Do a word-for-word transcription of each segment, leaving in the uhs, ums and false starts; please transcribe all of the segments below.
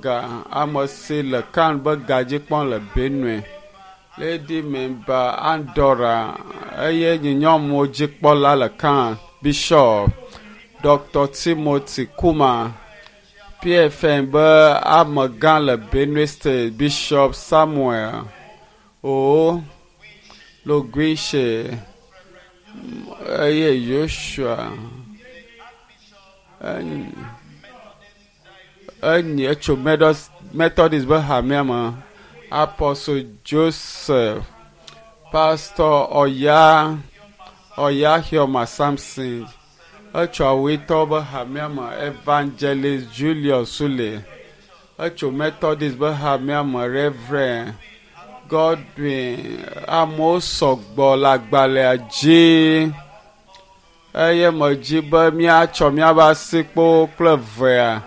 Ga ame si le kan be gadzi kpɔm le Benue. Lady Memba Andora eye nye nyɔnuwo dzikpɔla le kan Bishop Dr. Timothy Kuma PFN be amegã le Benue State Bishop Samuel O Loguiche eye Joshua enyi etso Methodist be hamea me Apostle Joseph Pastor Oya Oya Hioma Samson etso Awuitɔwo be hamea me Evangelist Julius Sule etso Methodist be hamea me Reverend Godwin amewo sɔgbɔ le agbalẽa dzi eye medzi be míatsɔ míaƒe asikpewo kple evea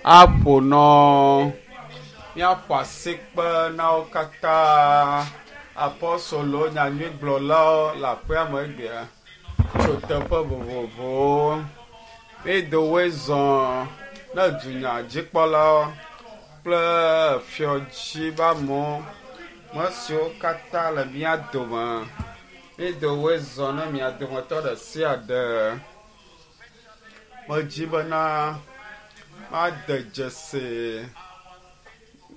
aƒo nɔ míaƒo asikpe na wo katã apɔstolo nyanyuigblɔlawo le aƒea me egbea tso teƒe vovovowo. Mído woe zɔ ne dunyadzikpɔlawo kple fiɔdzi be amewo me siwo katã le mía dome. Mído woe zɔ ne mia dometɔ ɖe sia ɖe. Medzi bena made dzesi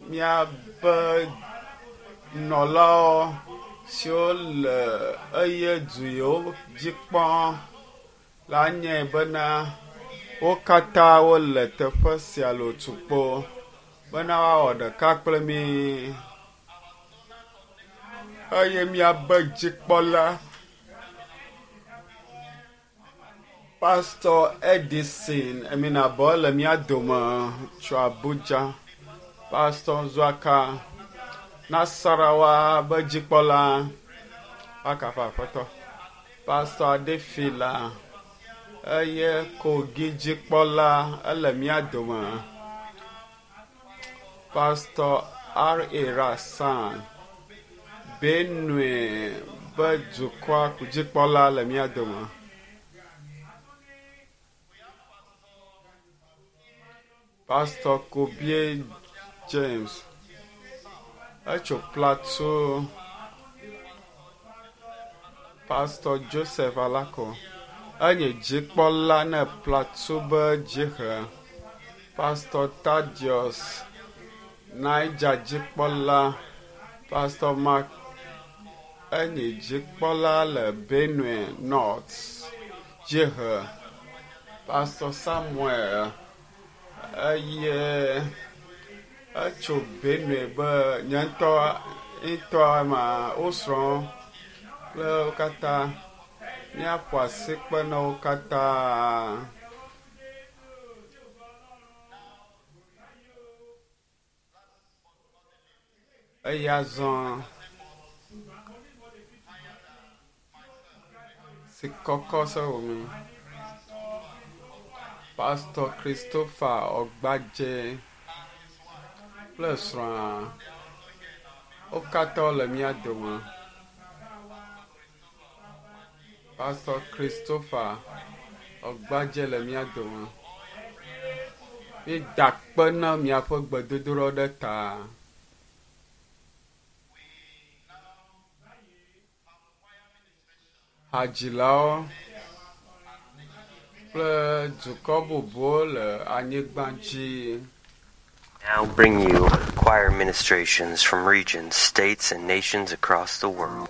míaƒe nɔlawo siwo le eye du yiwo dzi kpɔm la nyae bena wo katã wole teƒe sia le otukpo bena woawɔ ɖeka kple mí eye míabe dzikpɔla Pastor Edison Eminabɔ le mía dome tso Abuja. Pastor Nzuaka Nasarawa be dzikpɔla akafa aƒetɔ. Pastor Adefila eye Kogi dzikpɔla ele mía dome. Pastor R. A. Rasan Benue be dukɔa dzikpɔla le mía dome. Pastor Kobie James etso Plateau. Pastor Joseph Alako enye dzikpɔla ne Plateau be dzihe. Pastor Thaddeus Niger dzikpɔla. Pastor Mark enye dzikpɔla le Benue North dzihe. Pastor Samuel eye etso Benue be nye ŋutɔ ŋutɔ ma wo srɔ̃ kple wo katã míaƒo asikpe na wo katã. Eya zɔ si kɔkɔ sɔwɔ mi. Pastor Christopher Ɔgbadze kple srɔ̃a wo katã wole mía dome. Pastor Christopher Ɔgbadze le mía dome. Míeda akpe na miaƒe gbedodoɖa ɖe ta. Hadzilawo kple dukɔ bubuwo le anyigba dzi. Now bring you choir ministrations from regions, states, and nations across the world.